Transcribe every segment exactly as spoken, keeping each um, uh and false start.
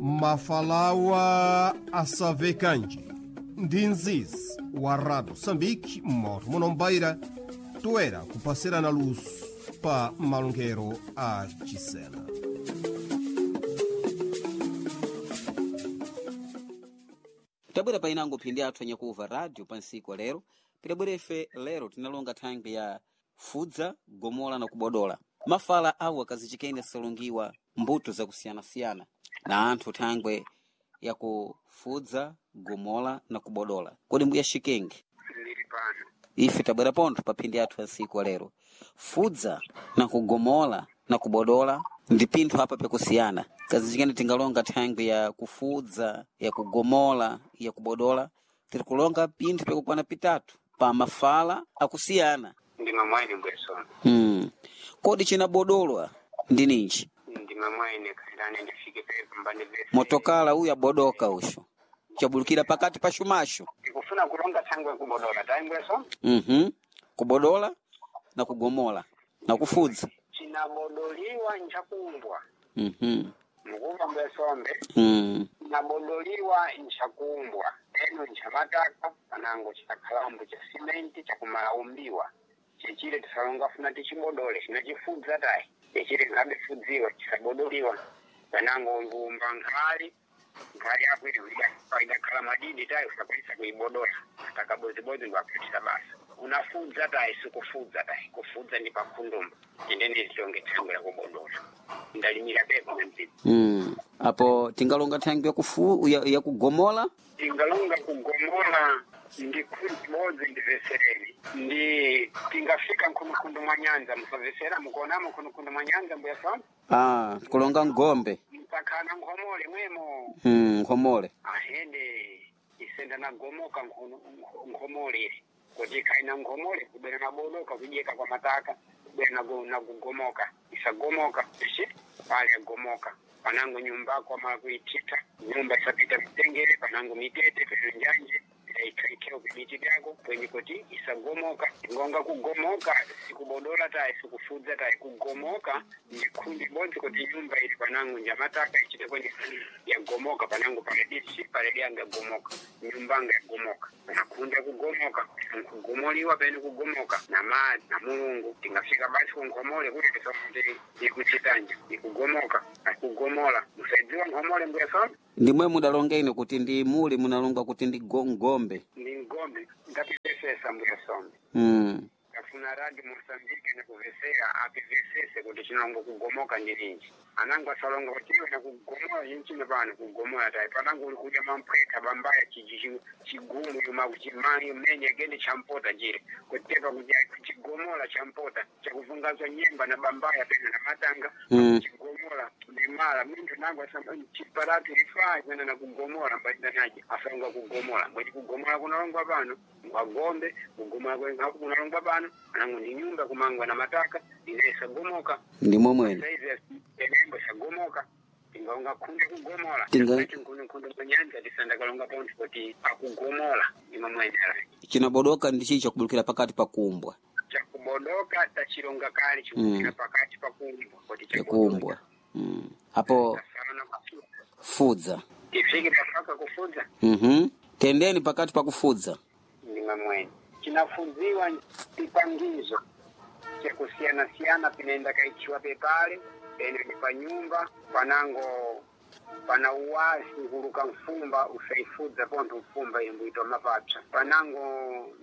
Mafalawa asavekanji ndi nzizi wa Rádio Moçambique moto munombaira toera kupasirana luso pa malongero a Chisena. Tabwera painango phindi athu anyakuva radio pa ntsiku wa lero pidabwera ife lero tinalonga thangwi ya fudza gomola na kubodola mafala awo akazichikene asalungiwa mbuto zakusiyanasiyana na anthu thangwe yakufudza gomola na kubodola kodi mbuya xikenge Ndili pano. ife tabwera pontho pa phindi athu ya ntsiku wa lero fudza na kugomola na kubodola ndi pinthu apa pyakusiyana kazichikene tingalonga thangwi ya kufudza ya kugomola ya kubodola tiri kulonga pinthu pyakukwana pitatu pa mafala akusiyana Ndima mwaine bwesona. hmm. Kodi cinabodolwa ndi ninji Ndima mwaine khairane ndifike pepo mbane vese. motokala uyu abodoka uxo cabulukira pakati pa xumaxo Ndikufuna kulonga thangwe kubodola tayi bweso. mm kubodola na kugomola na kufudza Cinabodoliwa nchakumbwa. mm Mukuva mbwesombe. mm. Cinabodoliwa nchakumbwa. Eno nchamataka panango chakhalambo cha simenti chakumalaumbiwa. Chechile tisalonga funa tichibodole chinachifudza tayi. Chechile nkhabe fudziwa chisabodoliwa. Panango mbumba nkhali nkhali yako ili idakhala madidi tayi usakwanisa kuibodola atakabozibozi ndiwaputisa basa unafudza tayi sikufudza tayi kufudza ndi pakhundumba indene zitonge thangwe la kubodola ndalimira pepo na mzimu Mm. Apo tingalonga thangwi ya kufu ya, ya kugomola tingalonga kugomola ndi khundu bodzi ndivesereni ndi tingafika nkhundukhundu mwa nyanza musavesera mukuonamo nkhundukhundu mwa nyanza mbuya sona ah, kulonga ngombe msakhala nkhomole mwemo mm, nkhomole ahende isenda nagomoka nkhono- nkho- nkhomole ile kuti ikhaina nkhomole kubwera nabodoka kudyeka kwa mataka kubwera nago- nakugomoka isagomoka ishi pale agomoka panango nyumbako amala kuithitha nyumba isapita mitengere panango mitete peno njanje ikhaikeo vibiti vyako kwenye kuti isagomoka ngonga kugomoka sikubodola tayi sikufudza tayi kugomoka ndi khundi bodzi kuti nyumba ili panango njamataka ichite kwenye yagomoka panango paledishi paledi yagomoka nyumbanga yagomoka nakhunda kugomoka nkugomoliwa pene kugomoka na madzi na mulungu tingafika basi kunkhomole kuti tisote ikuchitanja ikugomoka akugomola musaidziwa nkhomole mbuya sona ndimwe mudalonga ine kuti ndi muli munalonga kuti ndi go- ngombe ndi ngombe ngapipesesa mbuya sombe mm. kafuna radi mosambike nekuvesera apivesese kuti chinongo kugomoka ndi ninji anango asalonga kuti iwe nakugomola chinchino pano kugomola tayi panango uli kudya mamphwetha bambaya chiji chi- chigumu yuma kuchimanyi mmenye gende champota chile kutepa kuti chigomola champota chakuvungazwa nyemba na bambaya pena na matanga Mm. chigomola nemala minthu nango chiparatu ifaa kwena nakugomola mbaita naje asalonga kugomola mbweni kugomola kunalongwa pano ngwagombe kugomola kwengapo kunalongwa pano anango ndi nyumba kumangwa na mataka ine isagomoka ndimwe mwene saizi enembo isagomoka tingaonga khunde kugomola Tinga- nkhundu manyanja tisandakalonga pontho kuti akugomola imwe mwenera chinabodoka ndi chichi chakubulukira pakati pa kumbwa chakubodoka tachilonga kale chikukira pakati pakumbwa kuti yakumbwa mm. Apo tasana kufudza fudza tifike tafaka kufudza mm tendeni pakati pa kufudza ndimwe mwene chinafudziwa pipangizo chakusiyana-siyana pinaenda kaitchiwa pepale pene ndi pa nyumba panango pana uwazi nkuluka mfumba usaifudza pontho mfumba imbuitwa mapapsa panango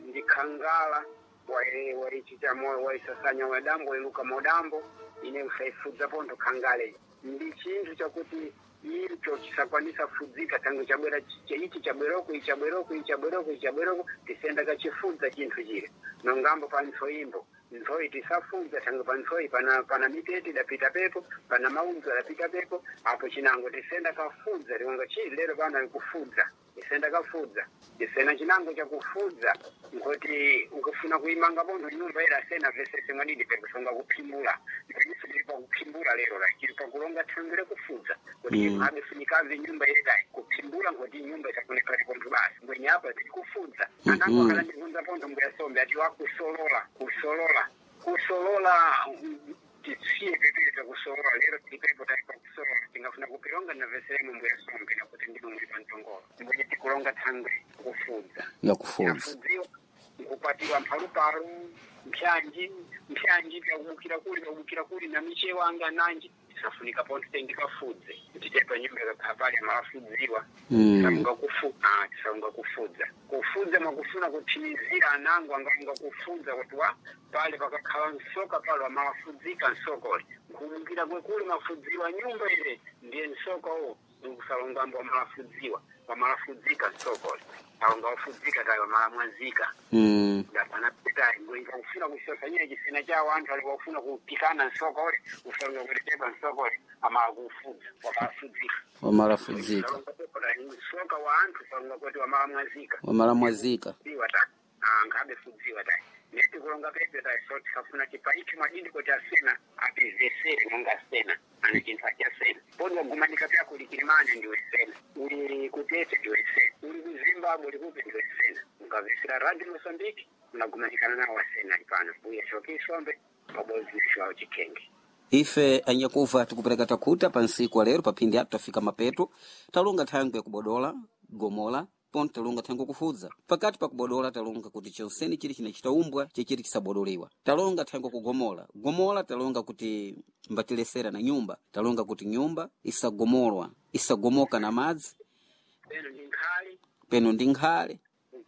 ndi khangala wai- waichita moyo waisasanya wadambo iluka modambo ine usaifudza pontho khangale ndi chinthu chakuti icho chisakwanisa fudzika tango chabwera chi- ichi chabweroko ichi chabweroko ichi chabweroko ichi chabweroko tisenda kachifudza chinthu chile nongambo pa ntsoyimbo ntsoyi tisafudza tango pa ntsoyi pana pana mitete idapita pepo pana maunzo adapita pepo apo chinango tisenda kafudza tikonga chi lero pano ikufudza tisenda kafudza tisena chinango chakufudza nkoti ukufuna kuimanga pontho nyumba ila asena vesese mwadidi pekusonga kuphimbula ndiponso tili pakuphimbula lero la chili pakulonga thangwi lakufudza kuti Mm. mm. abefunikave nyumba iledayi kuphimbula nkoti nyumba isakonekale pontho basi mbwenye apa tili kufudza Mhm. anango akala ndivunza pontho mbuyasombe ati wakusolola kusolola kusolola mm, Tisiye pepere takusowa lero tilipepo taipa kusowa tingafuna kupilonga naveseremo mbuya sombe nakuti ndimo muli pantongolo mbwenye tikulonga thangwe kufudza Yakufudza. yafudziwa nkupatiwa mphalupalu mpyanji mpyanji pyakubukira kuli pyakubukira kuli na michewa anga nanji tisafunika pontho tengikafudze kuti tepa nyumba ikakhala pali amalafudziwa Mm. tisalunga kufu ah tisalunga kufudza kufudza mwakufuna kuthimizira anango angalunga kufudza kuti wa pale pakakhala nsoka pale amalafudzika nsokole nkhumukira kwekuli mafudziwa nyumba ile ndiye nsoka uwo nkusalungambo wamalafudziwa wamalafudzika nsokole alunga wafudzika tayo wamalamwazika Mm. ndapanapitayi ngoinga kufuna kusosanyira chisena chawo anthu ali wakufuna kupikana nsokole usalunga kuti tepa nsokole amalakufudza wamalafudzika Wamalafudzika. soka wa anthu salunga kuti wamalamwazika Wamalamwazika. fudziwa ta Ah, nkhabe fudziwa ta neti kulonga pepe ta so tikafuna tipaike mwadindi kuti asena apizesere monga asena ani chinthu achasena poni wagumanika pyako uli kilimani ndiwe sena uli kutete ndiwe sena uli kuzimbabwe uli kupi ndiwe sena ukavesera radio mosambiki unagumanikana nawo asena ali pano mbuya shokisombe pabodzi na shawo chikenge Ife anyakuva tikupereka takhuta pa nsiku wa lero paphindi atu tafika mapeto talunga thangwe yakubodola gomola ponto talunga thangwe kufudza pakati pa kubodola talunga kuti chonseni chili chinachitaumbwa chechiti chisabodolewa talunga thangwe kugomola gomola talunga kuti mbatilesera na nyumba talunga kuti nyumba isagomolwa isagomoka na madzi peno ndi nkhali peno ndi nkhale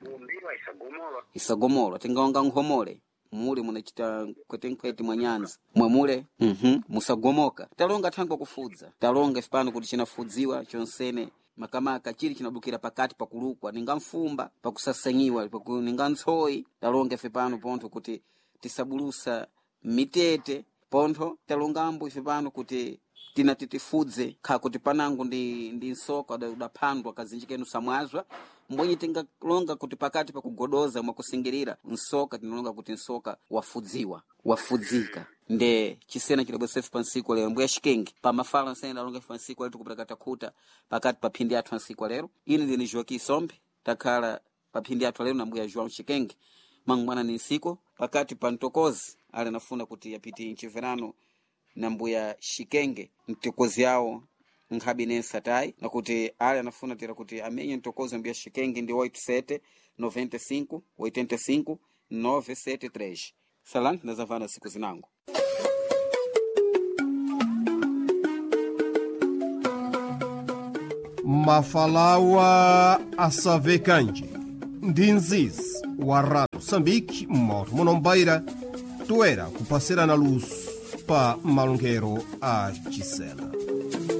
kuumbiwa isagomolwa isagomolwa tingaonga nkhomole mule munachita nkwetenkhwete mwa nyanza mwemule mhm musagomoka talonga thangwe kufudza talonga ife pano kuti chinafudziwa chonsene makamaka chili chinabukira pakati pakulukwa ninga mfumba pakusasanyiwa paku, ninga ntsoyi talonga ife pano pontho kuti tisabulusa mitete pontho talongambo ife pano kuti tinati tifudze kha kuti panango ndi, ndi nsoka uda- udaphandwa kazinji kenu samwazwa mbwenye tingalonga kuti pakati pakugodoza mwakusingirira nsoka tinalonga kuti nsoka wafudziwa wafudzika nde chisena chilabwesefu pa nsiku lero mbuya xikenge pamafala nsena alonga ife pa nsiku lero tikupita takhuta pakati pa phindi athu ansiku lero ine ndine Joaquim Sombe takhala pa phindi athu lero na mbuya João Xikenge mangwana ni nsiku pakati pa mtokozi ali anafuna kuti yapiti mchiverano na mbuya Xikenge mtokozi yawo nkhabe nensa tayi nakuti ali anafuna tera kuti amenye mtokozi wa mbuya Xikenge ndi oito sete noventa e cinco oitenta e cinco nove sete três salani ndazavana siku zinango Mafalawa asavekanje ndi nzizi wa Rádio Moçambique moto munombaira toera kupasirana luso pa malonkhero a chisena.